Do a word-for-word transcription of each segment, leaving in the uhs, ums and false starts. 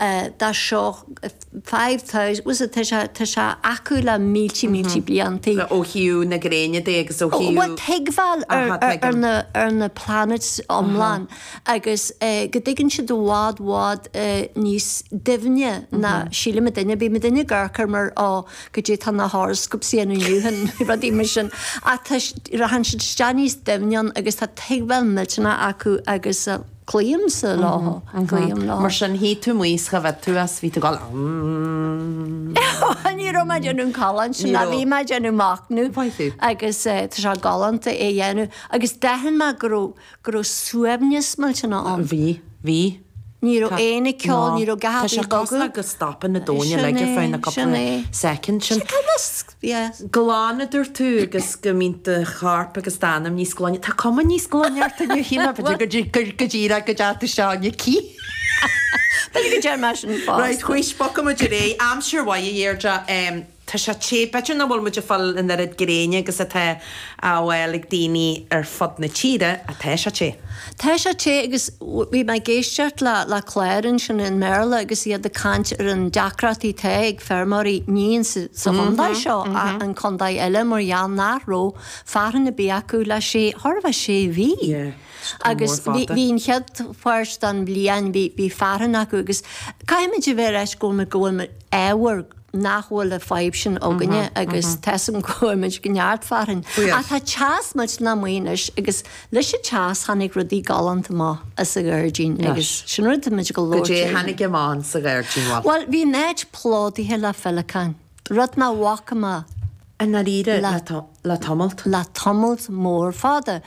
dá seo five thousand was it tá sé tá sé acu le mílte mílte bliantaí. Ó thaobh na gréine de agus ó Bhuel thaobh tuigbheáil ar Aha, ar tuigim. na ar na planets iomlán agus go dtuigeann siad i bhfad bhfad níos doimhne ná sílim duine bí duine garcar mar á goidé tá na horoscopes a dhéanamh inniu rudaí mar sin ach tá rachann siad isteach níos doimhne agus tá tuigbheáil millteanach acu agus cloímse leo cloím leo. Mar sin shuigh tú amuigh is cha bhfad tú as bhí tú ag gabháil Ní raibh mé ag déanamh an callán sin Ní a raibh. bhí mé ag déanamh machnamh Mhaith thú. agus eh, tá sé galánta é dhéanamh agus d'aithin mé go raibh go raibh suaimhneas millteanach ann. Bhí bhí Ní raibh aon ceol, ní raibh Tá sé gach cosúil go stopann na domhan Sin uilig ar é, feadh na sin cúpla é. second sin. Yes. Glan a dúirt tú agus go mbíonn do chorp agus d'anam níos glaine. Tá cuma níos glaine ort inniu shíl mé go go díreach go dteacht seo cí. B'fhéidir go deir mé sin Right, fosta. chuis bogfaimid ar aghaidh aimsir mhaith a Dheirdre Tá sé te b'fhéidir nach bhfuil muid ag fáil an oiread gréine agus atá á fháil ag daoine ar fud na tíre atá sé te. Tá sé te agus bhí mé ag éisteacht le le clár ansin i mBéarla agus iad ag caint ar an deacrachtaí atá ag feirmeoirí ní sa sa chontae seo ach an contae eile mar gheall nach raibh fearthainn ar bith acu le sé thar a bheith sé mhí. Yeah, Agus mór bhí fada. bhí an chéad pháirt den bhliain bhí bhí fearthainn acu agus caithfimid a bheith leis go bhfuil go bhfuil ábhar nach bhfuil a fadhb sin againne agus táim go bhfuil go neart fearthainn. Yes. Ach tá teas millteanach amuigh anois agus leis an teas tháinig rudaí galánta amach as an ghairdín agus sin rud muid go Go dé leor. tháinig amach sa ghairdín bhfuil. Well, bhí an áit plódaithe le féileacáin. Rud nach bhfaca mé An náiríre Le- le to- le tamalt. le tamalt mór fada.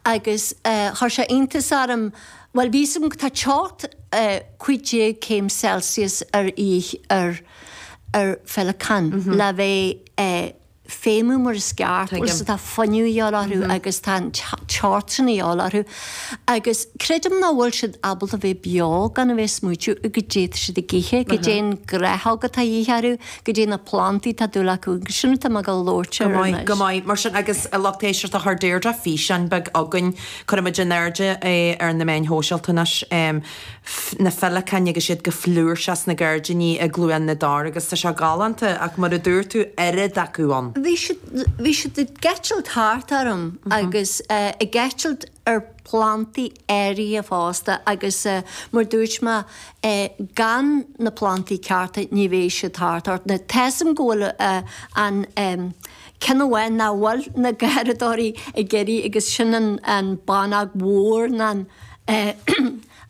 Agus uh, chuir sé iontas orm well bhí sam tá teocht uh, cúig déag céim Celsius ar ích ar ar féileacáin mm -hmm. le bheith uh, feidhmiú mar is ceart Tuigim. so tá fuinneamh a dhíobháil orthu agus tá an teocht sin a dhíobháil orthu. Agus creidim nach bhfuil siad ábalta bheith beo gan a bheith smaointiú go dté siad ag ithe, go dté an gnáthóg atá de dhíth orthu, go dté na plantaí tá dúil acu, agus sin tá go labhairt Go maith, go maith mar sin agus a lucht éisteachta chuir Deirdre físeán beag againn cuirfimid in airde é ar na meáin shóisialta anois um, na féileacáin agus siad go flúirseach sna gairdíní i gCluain na dTor agus tá sé galánta ach mar a dúirt tú oiread acu ann. Bhí siad bhí siad ag eitilt thart orm agus uh, ag eitilt ar plantaí áirithe fosta agus uh, mar dúirt mé uh, gan na plantaí cearta ní bheidh siad thart ort. Na Táim go bhfuil uh, an um, ceann amháin nach bhfuil na garraíodóirí ag iarraidh agus sin an, an bánóg mhór ná an, uh,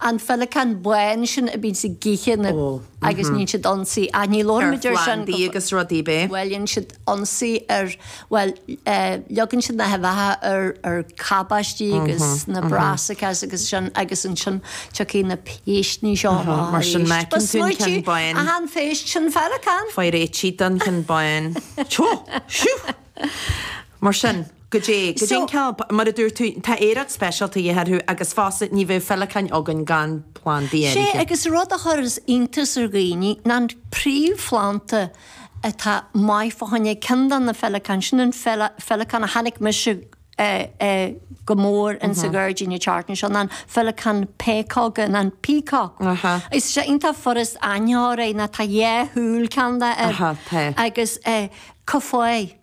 an féileacán bán sin a bhíonn ag ithe na Ó, agus níonn siad ionsaí a ní Ar labhraímid ar sin phlandaí agus rudaí bé. Well dhéan siad ionsaí ar well uh, leagann siad na huibheacha ar ar cabáistí agus na brassicas agus sin agus ansin tiocfaidh na péistní seo amach mar sin arís. meiceann tú an ceann bán. A han phéist sin féileacán. Faoi réití don cheann bán. Teo, siú! Mar sin, go dé, go So- dé ceal mar a dúirt tú tá aeráid speisialta a dhéanamh agus fosta ní bheadh féileacáin againn gan plandaí Sé áirithe. agus rud a chuireann iontas ar dhaoine ná an príomhphlanta atá maith fá choinne ceann de na féileacáin sin an féileacán a chonaic mise eh, eh, go mór in sa ghairdín an tseachtain seo an féileacán péacóga an peacock. Aha. Is sé iontach furast aithne air ná tá dhá shúil ceann air Aha, tá. agus eh, cufáí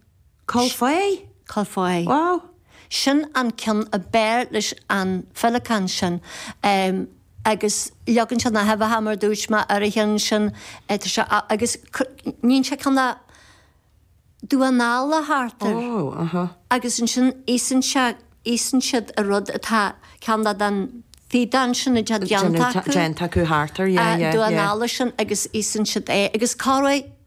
Col fé? Cofáí. Wow. Sin an ceann ab fhearr leis an féileacán sin. Um, agus leagann sé na huibheacha mar dúirt mé ar a cheann sin eh, tá sé a- agus níonn sé ceann damh analla thart air. Oh, aha. agus ansin itheann sé itheann siad a rud atá ceann den feadán sin atá déanta acu. Déanta acu thart air, yeah, yeah, damh yeah. analla sin agus itheann siad é agus cá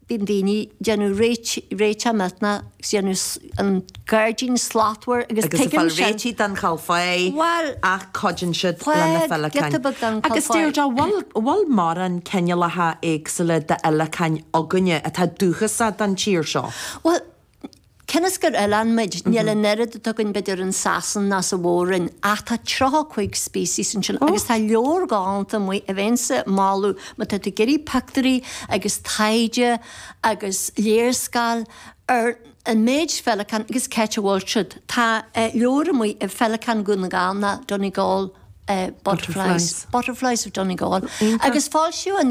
bíonn daoine déanamh réiteach millteanach agus déanamh an gairdín slachtmhar agus Agus a tuigim fáil sin. réití den cholfáí Well, ach cuidíonn siad Well, lena féileacáin. giota beag den Agus cholfáí. Deirdre, bhfuil bhfuil mórán cineálacha éagsúla d'fhéileacáin againne atá dúchasach don tír seo. Well, Cionn gur oileán muid níl an oiread atá againn b'fhéidir in Sasain ná sa Mhór-Roinn ach tá tríocha cúig species ansin agus tá leabhar galánta amuigh a bheinnse ag moladh má tá tú ag iarraidh pictiúirí agus taighde agus léarscáil ar an méid féileacán agus cé a bhfuil siad. Tá eh, leabhar amuigh i Féileacáin Dhún na nGall ná Donegal uh, butterflies. Butterflies. Butterflies of Donegal. Agus foilsíodh an